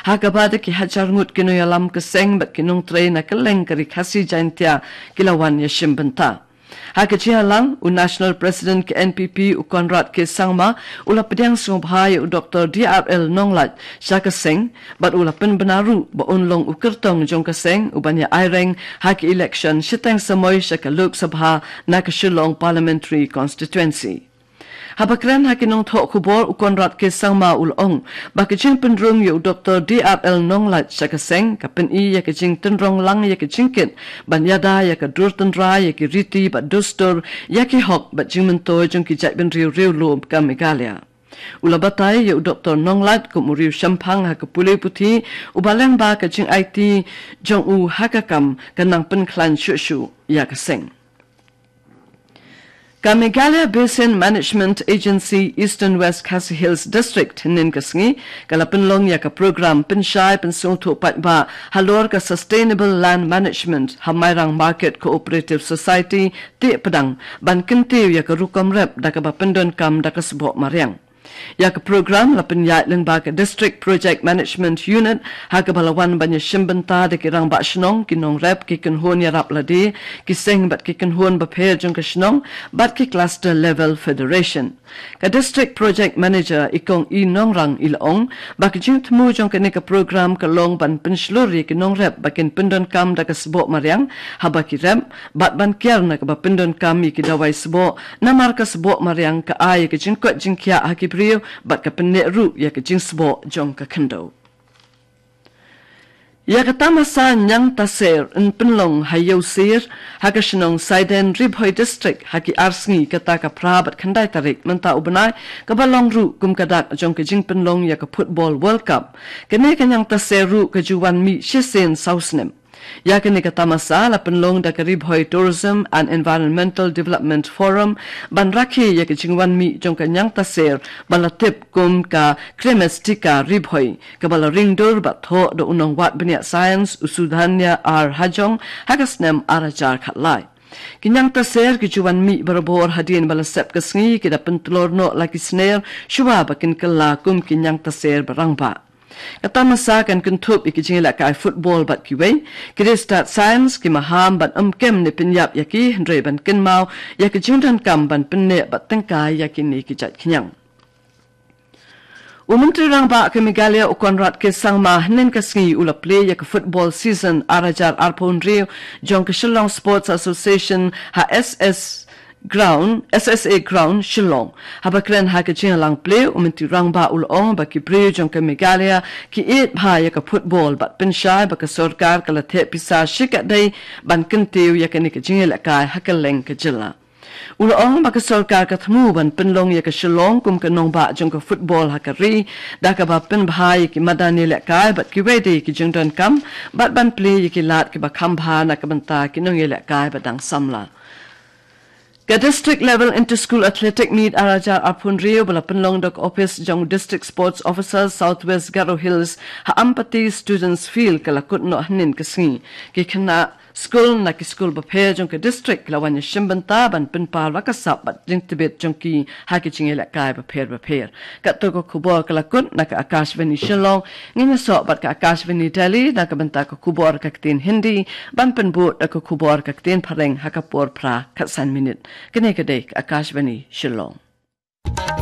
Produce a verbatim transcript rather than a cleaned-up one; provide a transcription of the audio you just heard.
ha kaba da ki hajar ngut ki nongïalam ka seng bad ki nongtrei na kylleng ka Ri Khasi Jaintia ki la wan ïashim bynta. Ha ka jingïalang, u National President ka N P P u Conrad K Sangma u la pdiang sngewbha ïa u Doctor D R L Nonglait sha ka seng, bad u la pynbna ruh ba un long u kyrtong jong ka seng u ban ïa aireng ha ki election shiteng samoi sha ka Lok Sabha na ka Shillong Parliamentary Constituency. Haba kren ha ki nongthoh khubor, u Conrad K Sangma u la ong ba ka jingpynrung ïa u Doctor D R L Nonglait sha ka seng ka pyni ïa ka jingtynrong lang ïa ka jingkit ban ïada ïa ka dur tynrai, ïa ki riti bad dustur, ïa ki hok bad jingmyntoi jong ki jaitbynriew riewlum ka Meghalaya. U la batai ïa u Doctor Nonglait kum u riewshemphang ha ka pule puthi, uba lyngba ka jingaiti jong u ha ka kam, kan nang pynkhlaiñ shuh shuh ïa ka seng. Ka Meghalaya Basin Management Agency Eastern West Khasi Hills District, hynnin ka sngi ka la pynlong ïa ka program pynshai pynsngewthuh paidbah halor ka Sustainable Land Management ha Mairang Market Cooperative Society, Tehpdeng, ban kyntiew ïa ka rukom rep da kaba pyndonkam da ka sboh mariang. Ïa ka program la pynïaid lyngba ka District Project Management Unit, ha kaba la wan ban ïashim bynta da ki rangbah shnong, ki nongrep, ki kynhun ïarap lade, ki seng bad ki kynhun bapher jong ka shnong, bad ki Cluster Level Federation. Ka District Project Manager, i Kong E Nongrang, i la ong ba ka jingthmu jong kane ka program ka long ban pynshlur ïa ki nongrep ba kin pyndonkam da ka sboh mariang haba ki rep, bad ban kiar na kaba pyndonkam ïa ki dawai sboh, namar ka sboh mariang ka ai ïa ka jingkoit jingkhiah ha ki briew bad ka pynneh ruh ïa ka jingsboh jong ka khyndew. Ïa ka tamasa Ñiangtaser yn pynlong ha Ïewsir, ha ka shnong Saiden, Ri Bhoi District, ha ki ar sngi, kata ka phra bad khyndai tarik mynta u bnai, kaba long ruh kum ka dak jong ka jingpynlong ïa ka Football World Cup. Kane ka Ñiangtaser ruh ka ju wan mih shisien saw snem. Ïa kane ka tamasa la pynlong da ka Ri Bhoi Tourism and Environmental Development Forum ban rakhe ïa ka jingwan mih jong ka Ñiangtaser ba la tip kum ka Cremaestheca Ri Bhoi, kaba la ring dur bad thoh da u nongwad bniah science u Sudhanya R Hajong ha ka snem ar hajar khatlai. Ki Ñiangtaser ki ju wan mih barabor hadien ba la sep ka sngi, ki da pyntlor noh la ki sner shuwa ba kin kylla kum ki Ñiangtaser ba rangbah. Ka tamasa kan kynthup ïa ki jingïalehkai football bad kiwei, ki riewstad science, ki maham ban ym kem ne pynïap ïa ki, hynrei ban kynmaw ïa ki jingdonkam ban pynneh bad tyngkai ïa kine ki jait khñiang. U Myntri Rangbah ka Meghalaya u Conrad K Sangma hynnin ka sngi u la plie ïa ka football season ar hajar arphew hynriew jong ka Shillong Sports Association ha S S Ground, S S A Ground, Shillong. Haba kren ha ka jingïalang plie, u Myntri Rangbah u la ong ba ki briew jong ka Meghalaya ki ïeit bha ïa ka football bad pynshai ba ka sorkar ka la theh pisa shikatdei ban kyntiew ïa kane ka jingïalehkai ha kylleng ka jylla. U la ong ba ka sorkar ka thmu ban pynlong ïa ka Shillong kum ka nongbah jong ka football ha ka ri, da kaba pynbha ïa ki madan ïalehkai bad kiwei de ki jingdonkam, bad ban plie ïa ki lad kiba kham bha na ka bynta ki nongïalehkai ba dang samla. Ka District Level Inter-School Athletic Meet ar hajar arphew hynriew ba la pynlong da ka ophis jong District Sports Officer South West Garo Hills ha Ampati Students Field ka la kut noh hynnin ka sngi. Ki khynnah skul na ki skul bapher jong ka district ki la wan ïashim bynta ban pynpaw la ka sap bad jingtbit jong ki ha ki jingïalehkai bapher bapher. Katto ka khubor ka la kut na ka Akashvani Shillong, ngin ïasoh bad ka Akashvani Delhi na ka bynta ka khubor ka ktien Hindi, ban pynbud da ka khubor ka ktien Phareng ha ka por phra khatsan minit. Kane ka dei ka Akashvani Shillong.